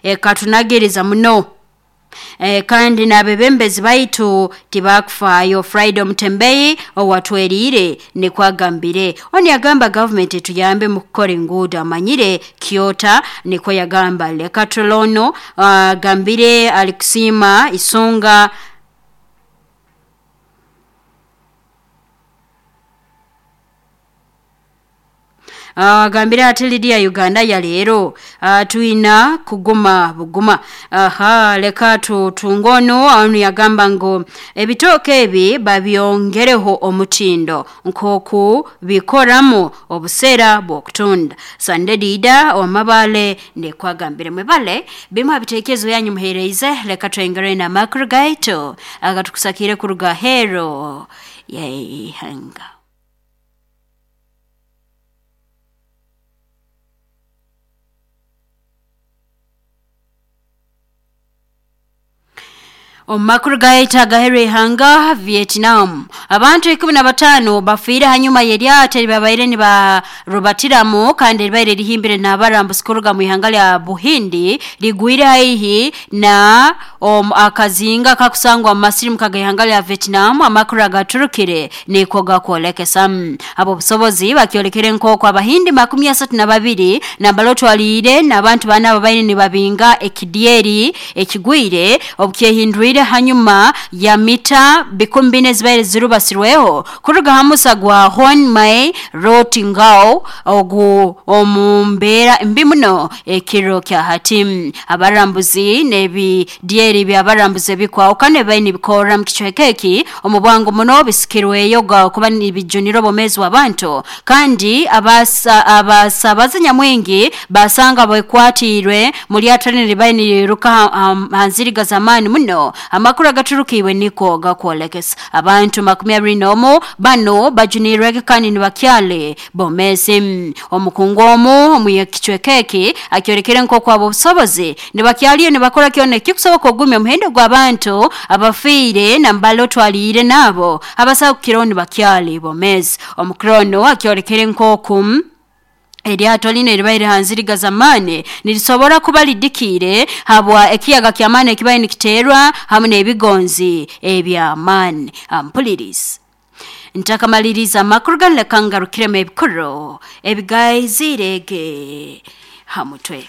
Ekatunagiriza muno. Kandi n'abebembezi baitu tibakufaayo. Friday Omutembeyi owatweriire nikwo agambire. Onu yagamba gavumenti etuyambe mu kukora enguudo, amanyire Kyota nikwo yagamba. Leka tulono agambire alikusiima isonga agambire ati Lydia Uganda ya leero twina kuguma buguma. Aha, leka tutungono onu yagamba ngu ebitooke ebi babyongereho omutindo nk'oku bikoramu obuseera bw'okutunda. Sande Dida owamabale nikwagambire. Mwebale bimu habiteekerezo byanyu muheereize. Leka twengere n'amakuru gaitu agatukusakire kuruga hero yeihanga. Omu makuru gaitu agaheru ihanga Vietnam, abantu 15 bafiire hanyuma y'eryato eribabaire nibarubatiramu kandi eribaire rihimbire n'abarambuzi kuruga mu ihanga lya Buhindi ligwire haihi na akazinga kakusangwa mu masirimuka g'ihanga lya Vietnam. Amakuru agaturukire niko gakwolekesa. Abo busobozi bakyolekere nk'oku Abahindi 32 nambala otwaliire n'abantu bana ababaire nibabinga ekidyeri ekigwire obukyehindwire hanyuma ya mita 4,000 zibaire zirubasirweho kuruga ha musa gwa Hon Mai Rotingao ogu omu mbeera mbi muno ekiro kya hati. Abarambuzi n'ebidyeri by'abarambuzi ebikwahukana ebibaire nibikorra mu kicweka eki omu bwangu muno bisikirweyo kuba nibijunira obwomeezi bw'abantu, kandi abasabazi nyamwingi basanga bekwatiirwe mu lyato linu ribaire niriruka ha nziriga z'amaani muno. Amakuru agaturukiibwe niko gakwolekesa abantu 21 bano bajunirwege kandi nibakyale bomezi. Omukungu omu omu kicweka eki akyolekere nk'oku abo obusobozi nibakyaliyo nibakora kyona ekikusoboka okugumya omuhendo gw'abantu abafiire nambala otwaliire n'abo abasahukiraho nibakyali bomezi. Omukuru ono akyolekere nk'oku eryato lino eribaire ha nziriga z'amaani nirisobora kuba lidikiire habwa ekiyaga ky'amaani ekibaire nikiteerwa hamu n'ebigonzi eby'amaani. Ampulirizi ntakamaliriza amakuru ganu, leka ngarukiremu ebikuru ebigaizirege ha mutwe.